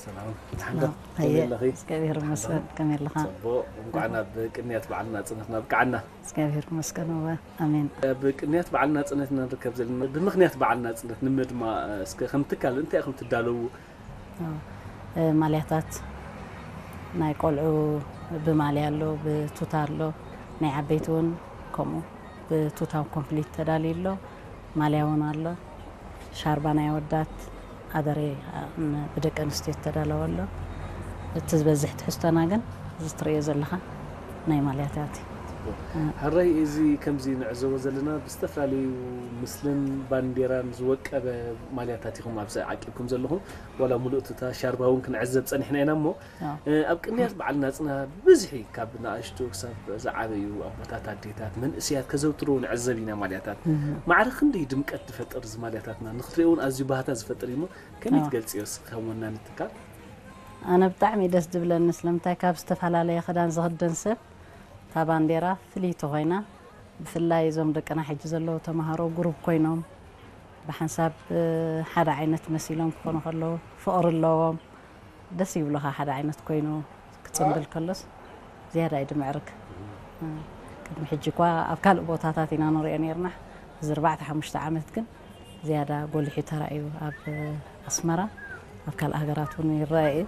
ሰላም፣ ደሓን ዶ? ኣየ፣ ከመይ ኣለኺ? እግዚኣብሔር ይመስገን። ከመይ ኣለኻ? ጽቡቕ። እንኳዕ ናብ ቅንያት በዓል ናጽነት ኣብቅዓና። እግዚኣብሔር ይመስገን። እወ፣ ኣሜን። ኣብ ቅንያት በዓል ናጽነት ኢና ንርከብ ዘለና። ብምኽንያት በዓል ናጽነት ንምድማቕ፣ እስከ ከም ትካል እንታይ ኢኹም ትዳለዉ? ኣዎ። እ፣ ማልያታት ናይ ቆልዑ ብማልያ ኣሎ፣ ብቱታ ኣሎ፣ ናይ ዓበይቲ እውን ከምኡ ብቱታ ኮምፕሊት ተዳልዩ ኣሎ፣ ማልያ እውን ኣሎ፣ ሻርባ ናይ ኣወዳት ኣደሬ፣ እ፣ ብደቂ ኣንስትዮ ዝተዳለወ ኣሎ። እቲ ዝበዝሕ ትሕዝቶና ግን እዚ ትርእዮ ዘለኻ ናይ ማልያታት እዩ። ሕራይ፣ እዚ ከምዚ ንዕዘቦ ዘለና ብዝተፈላለዩ ምስልን ባንዴራን ዝወቀበ ማልያታት ኢኹም ኣብዚ ዓቂብኩም ዘለኹም። ዋላ ሙሉእ ቱታ ሻርባ እውን ክንዕዘብ ጸኒሕና ኢና እሞ፣ ኣዎ። እ፣ ኣብ ቅንያት በዓል ናጽና ብብዝሒ ካብ ንኣሽቱ ክሳብ ዝዓበዩ ኣቦታት፣ ኣዴታት፣ መንእሰያት ከዘውትርዎ ንዕዘብ ኢና ማልያታት። ማዕረ ክንደይ ድምቀት ዝፈጥር እዚ ማልያታትና፣ ንክትሪኦ እውን ኣዝዩ ባህታ ዝፈጥር እዩ እሞ፣ ከመይ ኣዎ። ትገልጽዮ እስኪ ከም ወናኒ ትካል? ኣነ ብጣዕሚ ደስ ዝብለኒ፣ ስለምንታይ ካብ ዝተፈላለየ ክዳን ዝኽደን ሰብ እታ ባንዴራ ፍልይቲ ኮይና፣ ብፍላይ እዞም ደቅና ሕጂ ዘለዉ ተምሃሮ ግሩፕ ኮይኖም ብሓንሳብ፣ እ፣ ሓደ ዓይነት መሲሎም ክኾኑ ከለዉ ፍቕሪ ኣለዎም፣ ደስ ይብሉኻ። ሓደ ዓይነት ኮይኑ ክጽንብል ከሎስ ዝያዳ እዩ ድምዕርግ። እ፣ ቅድሚ ሕጂ እኳ ኣብ ካልእ ቦታታት ኢና ንሪኦ ነይርና። እዚ ኣርባዕተ ሓሙሽተ ዓመት ግን ዝያዳ ጎሊሑ ተራእዩ። ኣብ ኣስመራ፣ ኣብ ካልእ ሃገራት እውን ይረአ እዩ።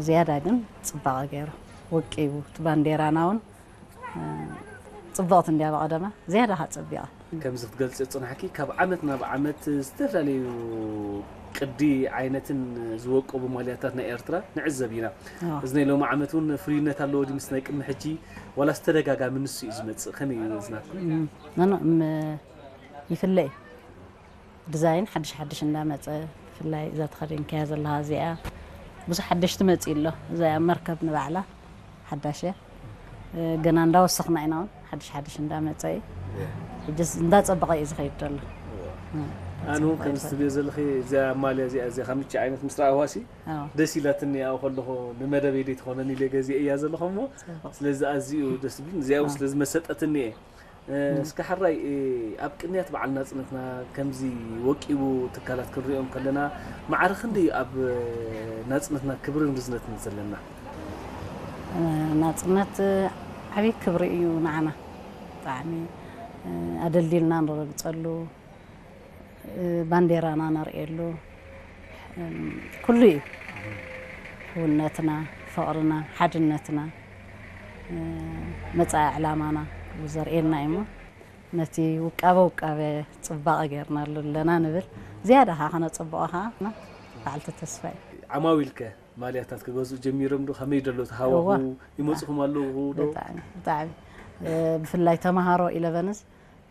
ዝያዳ ግን ጽባቐ ገይሩ ወቂቡ። እቲ ባንዴራና እውን፣ እ፣ ጽብቕቲ እንድያ ብቐደማ፣ ዝያዳ ከኣ ጸቢቓ። ከምዚ ክትገልጽ ጽናሕኪ፣ ካብ ዓመት ናብ ዓመት ዝተፈላለዩ ቅዲ ዓይነትን ዝወቀቡ ማልያታት ናይ ኤርትራ ንዕዘብ ኢና። ኣዎ። እዚ ናይ ሎሚ ዓመት እውን ፍሉይነት ኣለዎ ድዩ ምስ ናይ ቅድሚ ሕጂ፣ ዋላስ ተደጋጋሚ ንሱ እዩ ዝመጽእ? ከመይ እዩ ዝናትኩም? እም፣ ኖ፣ ኖ፣ እም፣ ይፍለ እዩ። ዲዛይን ሓድሽ ሓድሽ እንዳመጸ፣ ብፍላይ እዛ ተኸዲንካያ ዘለኻ እዚኣ ብዙሕ ሓድሽ ትመጽእ ኣሎ። እዛ መርከብ ንባዕላ ሓዳሽ እያ። እ፣ ገና እንዳወሰኽና ኢና እውን ሓድሽ ሓድሽ እንዳመጸ እዩ። ሕጅስ እንዳጸበቐ እዩ ዝኸይድ ዘሎ። እ፣ ኣነ እውን ከምዚ ትብልዮ ዘለኺ እዚኣ ማልያ እዚኣ እዚኣ ከምቺ ዓይነት ምስ ረኣኹዋሲ ኣዎ። ደስ ኢላትኒ። ኣብኡ ከለኹ ንመደበይ ደይ ትኾነኒ ኢለ ገዚአ እያ ዘለኹ እሞ፣ ስለዚ ኣዝዩ ደስ ዝብል እዚኣ እውን ስለ ዝመሰጠትኒ እየ። እ፣ እስከ ሕራይ፣ እ፣ ኣብ ቅንያት በዓል ናጽነትና ከምዚ ወቂቡ ትካላት ክንሪኦም ከለና፣ ማዕረ ክንደይ ኣብ፣ እ፣ ናጽነትና ክብርን ርዝነትን ዘለና? እ፣ ናጽነት፣ እ፣ ዓብዪ ክብሪ እዩ ንዓና። ብጣዕሚ፣ እ፣ ኣደልዲልና ንረግጸሉ፣ እ፣ ባንዴራና ነርእየሉ፣ እም፣ ኩሉ እዩ። ሕውነትና፣ ፍቕርና፣ ሓድነትና፣ እ፣ መጻኢ ዕላማና ዘርእየና እዩ እሞ፣ ነቲ ውቃበ ውቃበ ጽባቐ ጌርናሉ ኣለና ንብል። ዝያዳ ኸዓ ከነጸብቖ ኸዓ በዓልቲ ተስፋ እዩ። ዓማዊልከ ማልያታት ክገዝኡ ጀሚሮም ዶ? ከመይ ደሎ ተሃዋሁ? እዋ። ይመጽኹም ኣለዉ ዶ? ብጣዕሚ፣ ብጣዕሚ። እ፣ ብፍላይ ተምሃሮ ኢለቨንስ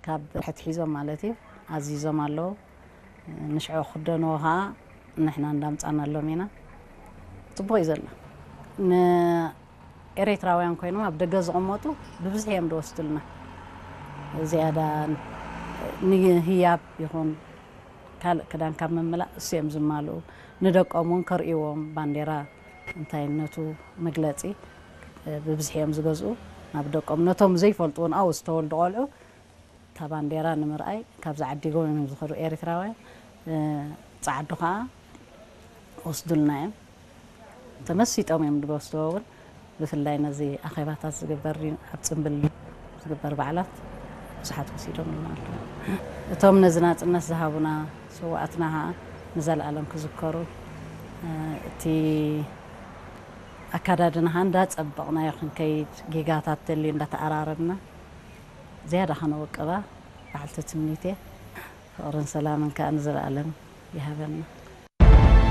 ካብ ሕትሒዞም ማለት እዩ፣ ኣዚዞም ኣለዉ። ንሽዑ ክደንዎ ኸዓ ንሕና እንዳምጻናሎም ኢና። ጽቡቕ እዩ ዘሎ። ንኤሪትራውያን ኮይኖም ኣብ ደገ ዝቕመጡ ብብዝሒ እዮም ዝወስዱልና። ዝያዳ ንህያብ ይኹን ካልእ ክዳን ካብ ምምላእ እሱ እዮም ዝማልኡ። ንደቆም እውን ከርእይዎም ባንዴራ እንታይነቱ መግለጺ፣ እ፣ ብብዝሒ እዮም ዝገዝኡ። ናብ ደቆም ነቶም ዘይፈልጡ እውን ኣብኡ ዝተወልዱ ቆልዑ እታ ባንዴራ ንምርኣይ ካብዚ ዓዲጎም እዮም ዝኸዱ ኤሪትራውያን። እ፣ ጸዓዱ ኸዓ ወስዱልና እዮም። ተመሲጦም እዮም ዝወስድዎ እውን። ብፍላይ ነዚ ኣኼባታት ዝግበር ኣብ ጽምብል ዝግበር በዓላት ብዙሓት ወሲዶም ኣለዉ። እቶም ነዚ ናጽነት ዝሃቡና ስውኣትና ኸዓ ንዘለኣለም ክዝከሩ፣ እ፣ እቲ ኣካዳድናኻ እንዳጸበቕናዮ ክንከይድ፣ ጌጋታት ተልዩ እንዳተኣራረምና ዝያዳ ከነወቅባ በዓልቲ ትምኒት እየ። ፍቕርን ሰላምን ከኣ ንዘለኣለም ይሃበና።